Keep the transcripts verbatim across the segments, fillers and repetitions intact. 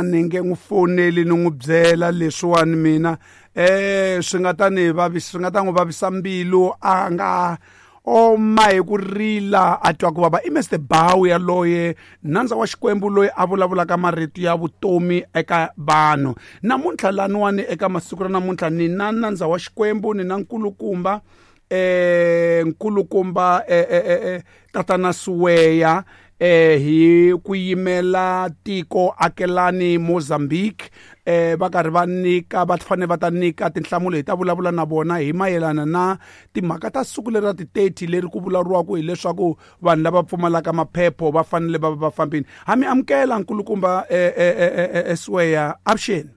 A ni nge n'wi foneli ni n'wi byela leswiwani mina eh swi nga ta ni vavisa, swi nga ta n'wi vavisa mbilu, a nga oma hi ku rila a twa ku vava. I Mister Bawu yaloye, nandza wa Xikwembu loyi a vulavulaka marito ya vutomi eka vanhu. Namuntlha laniwani eka masiku ra namuntlha ni na nandza wa Xikwembu, ni na nkulukumba eh nkulukumba eh, eh, eh, Tatana Siweya eh hi ku yimela tiko akelani Mozambique. Eh va karhi va nyika, va fanele va ta nyika tinhlamulo, hi ta vulavula na vona hi mayelana na timhaka ta siku leri ra ti thirty leri ku vulavuriwaka hileswaku vanhu lava pfumalaka maphepho va fanele va va va fambile. Ha mi amukela nkulukumba, eh, eh, eh, eh, eh, Siweya, avuxeni.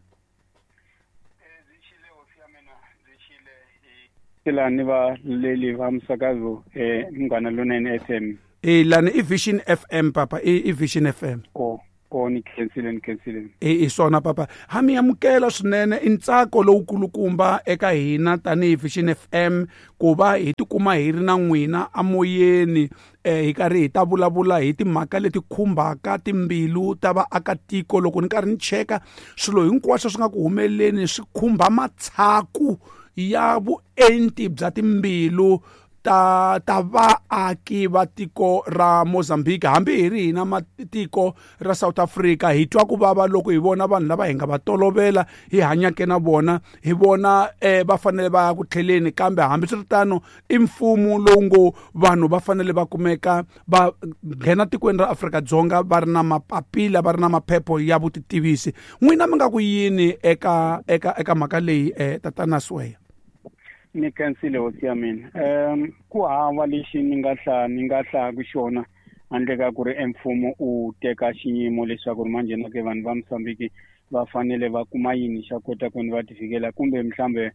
Lani va leli va msakazo, eh, Munghana Lonene F M. Eh, lani i Vision F M papa, i, i Vision F M. Oh, oh, ni khensile, ni khensile. Eh, i swona papa. Ha mi amukela swinene, i ntsako lowukulukumba eka hina tanihi Vision F M ku va hi tikuma hi ri na n'wina amoyeni, eh, hi karhi hi ta vulavula hi timhaka leti khumbaka timbilu ta vaakatiko. Loko ni karhi ni cheka swilo hinkwaswo swi nga ku humeleni swi khumba matshaku ya vuenti bya timbilu ta, ta vaaki va tiko ra Mozambique. Hambi hi ri hina matiko ra South Africa hi twa ku vava loko hi vona vanhu lava hi nga va tolovela hi hanyake na vona, hi vona, eh, va fanele va ya ku tlheleni, kambe hambiswiritano i mfumo lowu ngo vanhu va fanele va kumeka va nghena tikweni ra Afrika-Dzonga va ri na mapapila, va ri na maphepho ya vutitivisi. N'wina mi nga ku yini eka, eka, eka mhaka leyi, eh, Tatana Siweya? Ni khensile hosi ya mina. Em, ku hava lexi ni nga hla, ni nga hlaku xona handle ka ku ri emfumo u teka xiyimo leswaku ri manjhe na ke vanhu va Mozambique va fanele va kuma yini xa kota ku va ti fikela, kumbe mhlambe